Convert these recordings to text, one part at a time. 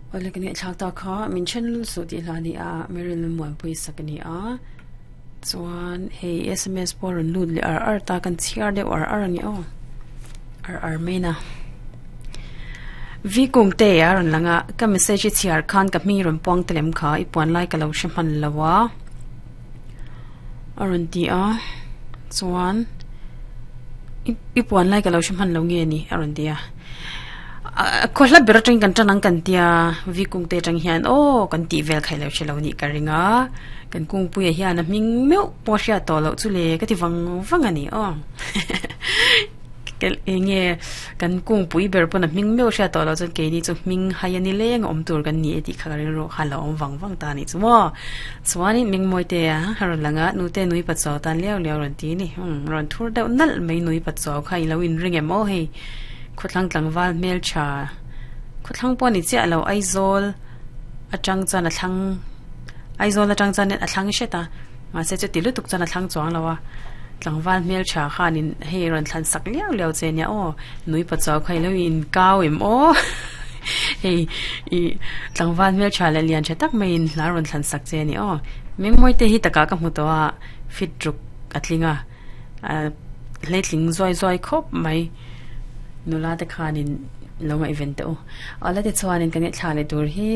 Awle ka ngaihthlak ta kha min then lul suh tih hla a ni a Meryl Muanpui sak a ni a chuan hei sms pawh a rawn lut leh ar ar ta kan chhiar deuh ar ar a ni aw ar ar mai na V kung te a rawn lang a ka message i chhiar khan ka hming rawn puang ta lem kha i puan lai ka lo hre hman lo a a rawn ti a chuan i puan lai ka lo hre hman lo nge ni a rawn ti a. Khaw hla ber atangin kan tan ang kan tia V kung te atang hian aw kan tih vel kha ilo hre lo nih ka ring a kan kungpuia hian a hming meuh pawh a hriat tawh loh chu le ka ti vang vang a ni aw eng nge kan kungpui ber pawn a hming meuh hriat tawh loh chuan keini chu hming hai a ni leng a awm tur kan ni e tih kha ka rilru kha a lo awm vang vang ta a nih chu maw chuanin Mingmawi te a rawn lang a nute nui pachuau tan liau liau a rawn ti a ni rawn thur deuh nalh mai nui pachuau kha ilo inring em aw hei. Khawthlang tlangval hmeltha khawthlang pawh a ni chiah lo Aizawl atang chuan a thlang Aizawl atang chuan a thlang hret a mahse chuti lutuk chuan a thlang chuang lo a tlangval hmeltha khanin hei rawn thlan sak liau liau che nia aw nui pachuau kha ilo inkau em aw hei ih tlangval hmeltha leh lian tha tak maiin hla rawn thlan sak che a ni aw Mengmawi te hi takah ka hmu tawh a fit ruk a tling a ah hleitling zuai zuai khawp mai. Nula te khanin lo ngaihven teh u. Awle tichuanin kan ngaihthla leh tur hi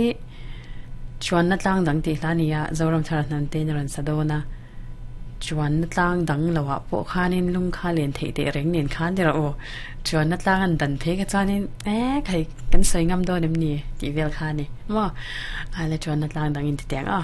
Chuanna tlang dang tih hla a ni a, Zoram thar hnam tein a rawn sa dawn a. Chuanna tlang dang loah pawh khanin lung kha len theih teh reng nen khan ti rawh u. Chuanna tlang an dan phei kha chuanin e khai kan sawi ngam dawn em ni tih vel kha a ni maw. Awle chuanna tlang dang in ti teh ang aw.